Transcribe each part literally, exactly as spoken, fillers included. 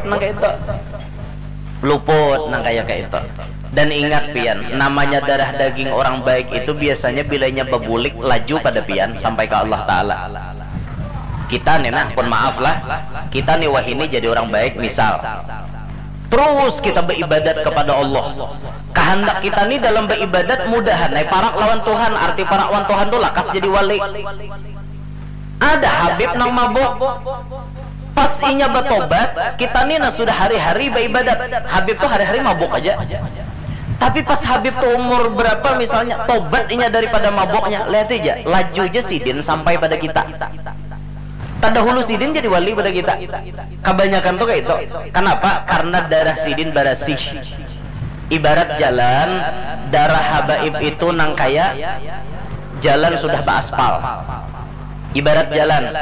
nang kayak itu. Luput nang kayak kayak itu. Dan ingat pian, namanya darah daging orang baik itu biasanya bilanya bebulik laju pada pian sampai ke Allah Ta'ala. Kita nih nah, pun maaf lah, kita nih wahini jadi orang baik misal. Terus kita beribadat kepada Allah. Kehendak kita nih dalam beribadat mudahan, nah, parak lawan Tuhan, arti parak lawan Tuhan tuh lakas jadi wali. Ada Habib nang mabuk. Pas inya batobat, kita ni nah sudah hari-hari baibadat. Habib tu hari-hari mabuk aja. Tapi pas Habib tu umur berapa misalnya, tobat inya daripada mabuknya. Lihat aja, laju aja sidin sampai pada kita. Tadahulu sidin jadi wali pada kita. Kebanyakan tu kayak itu. Kenapa? Karena darah sidin barasih. Ibarat jalan, darah habaib itu nang kaya jalan sudah baaspal. Ibarat jalan,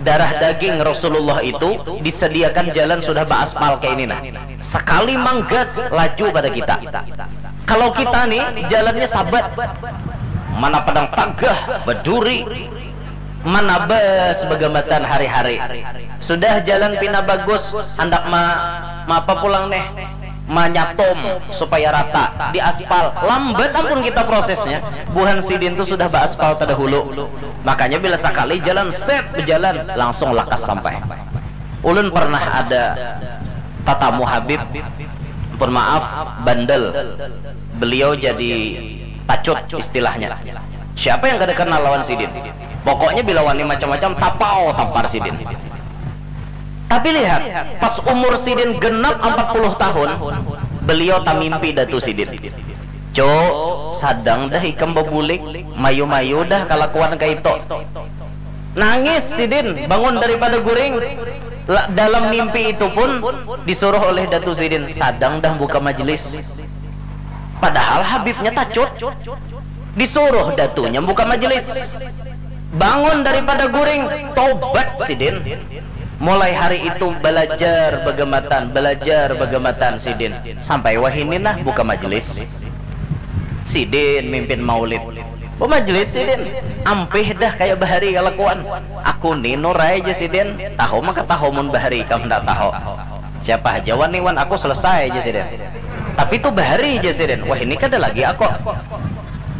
darah daging Rasulullah itu disediakan jalan sudah baaspal kayak ini nah. Sekali manggas laju pada kita. Kalau kita nih jalannya sabat, mana padang tagah, beduri, manabas bagambatan hari-hari. Sudah jalan pina bagus, handak ma, ma apa pulang nih? Manyatum supaya rata, di aspal. Lambat ampun kita prosesnya. Buhan sidin tu sudah baaspal terdahulu. Makanya bila sekali jalan set berjalan, langsung lakas sampai. Ulun pernah ada tatamu Habib, pun maaf, bandel. Beliau jadi tacut istilahnya. Siapa yang kada kenal lawan sidin? Pokoknya bila wani macam-macam, tapau tampar sidin. Tapi lihat, pas umur sidin genap empat puluh tahun, beliau tamimpi datu sidin. Cuk, sadang dah ikam babulik, mayu-mayu dah kalakuan kaito. Nangis sidin, bangun daripada guring. La, dalam mimpi itu pun disuruh oleh datu sidin, sadang dah buka majelis. Padahal Habibnya tacut. Disuruh datunya buka majelis. Bangun daripada guring, tobat sidin. Mulai hari itu belajar bagambatan, belajar bagambatan sidin. Sampai wahini nah buka majelis. Sidin mimpin maulid. Bamajelis sidin. Ampih dah kayak bahari kalakuan. Aku ni nurai aja sidin. Tahu maka tahu mun bahari kamu ndak tahu. Siapa aja wan iwan aku selesai aja sidin. Tapi tu bahari aja sidin. Wah, ini kada lagi aku.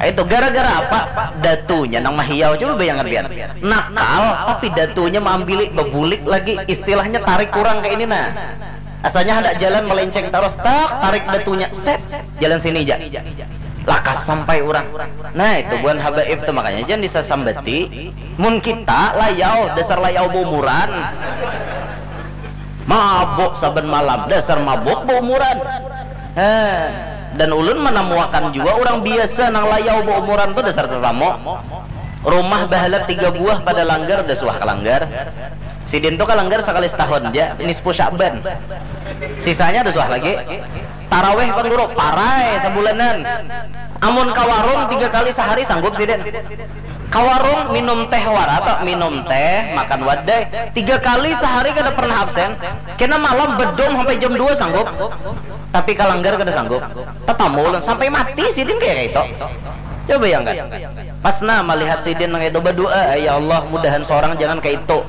Itu gara-gara apa? Datunya nang mahiau. Coba bayangkan pian. Nakal, tapi datunya maambili, babulik lagi. Istilahnya tarik kurang kayak ini nah. Asalnya hendak jalan melenceng terus, tak tarik datunya, set, jalan sini aja. Lakas sampai orang. Nah, itu buhan habaib tuh, makanya jangan disasambati. Mun kita layau, dasar layau baumuran. Mabuk saban malam, dasar mabuk baumuran. Heh. Dan ulun menemuakan juga orang biasa nang layau baumuran tuh dasar tetamu. Rumah bahalat tiga buah pada langgar, udah suah ke langgar. Sidin tuh ke langgar sekali setahun aja, nisfu Sya'ban. Sisanya udah suah lagi. Taraweh pang guru, parai sabulanan. Amun ke warung tiga kali sehari sanggup sidin. Ke warung minum teh wara atau minum teh, makan wadai. Tiga kali sehari kada pernah absen. Kena malam bedom sampai jam dua sanggup. Tapi ke langgar kada sanggup. Tetamu ulun sampai mati sidin kayak itu. Coba bayangkan. Pas nah melihat sidin nang itu berdoa, ya Allah, mudahan seorang jangan kayak itu.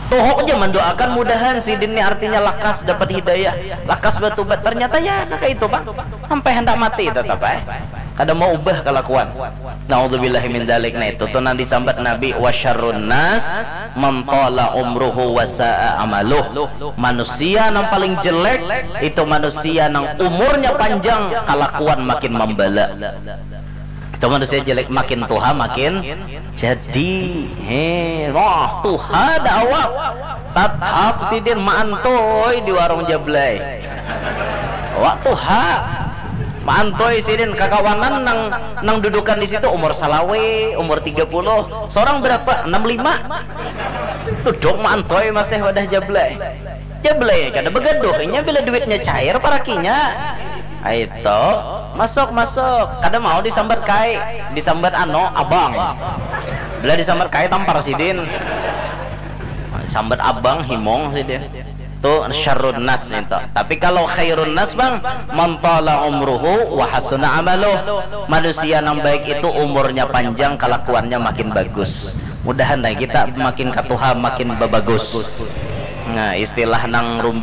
Tuhuk aja mendoakan mudahan sidin ini artinya lakas dapat hidayah, lakas bertobat. Ternyata ya kayak itu, Bang. Sampai hendak mati tetap eh. Kada mau ubah kelakuan. Naudzubillahi min dzalik. Nah, itu tuh nang disambat Nabi, wa syarrun nas man tala umruhu wa sa'a amaluh. Manusia nang paling jelek itu manusia nang umurnya panjang, kalakuan makin membala. Itu manusia jelek makin tuha makin jadi. He, wah, tuha dah awak. Tatap sidin maantoi di warung jablay. Awak tuha. Maantoi sidin kakawanan nang nang dudukan di situ umur salawe, umur tiga puluh. Seorang berapa? Enam lima. Duduk maantoi masih wadah jablay. Jablay kada begaduh inya bila duitnya cair parakinya. Aito, masuk masuk. Kada mau disambat kai, disambat ano abang. Bila disambat kai tampar sidin. Sambat abang himong sidin. Tu syarrun nas itu. Tapi kalau khairun nas, Bang, man tala umruhu wa hasuna amaluh. Manusia nang baik itu umurnya panjang, kelakuannya makin bagus. Mudahan lah kita makin katuha makin babagus. Nah, istilah nang rum